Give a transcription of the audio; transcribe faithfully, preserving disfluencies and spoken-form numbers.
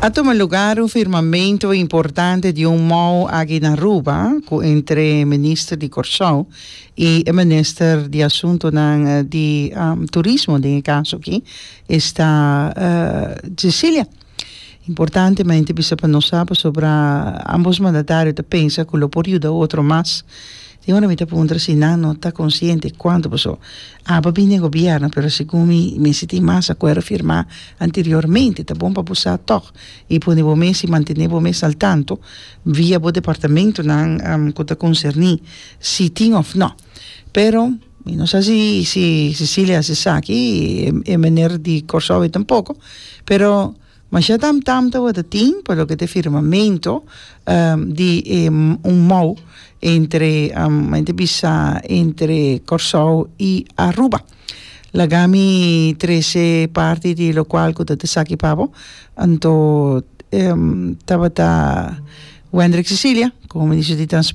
A tuma lugar un firmamento importante di un M O U aki na Aruba cu entre minister di Corsou y e minister di Asunto di um, Turismo, den caso aki, esta uh, Cecilia. Importantemente bisa pa nos sobre ambos mandatario ta pensa cu lo por yuda otro mas. Y ora mi ta puntra si nan no ta consciente cuanto paso. Ah, bin gobierno, pero segun mi, mi tin mas acuerdo firma anteriormente, ta bon pa usa toch. Y pone bo mes y mantene bo mes al tanto via bo departamento nan um, cu ta concerni si tin of no. Pero mi no sa si, si Cecilia se sa aki, e, e meneer di Corsou tampoco, pero mas ya tam tam ta tin pa loke ta firmamento um, di um, un M O U entre um, entre bisa entre Corsou y Aruba. Laga mi trece parti di locual cu ta esaki pa bo. Anto um, tabata Wendrick Cecilia, como ministro di Transporte.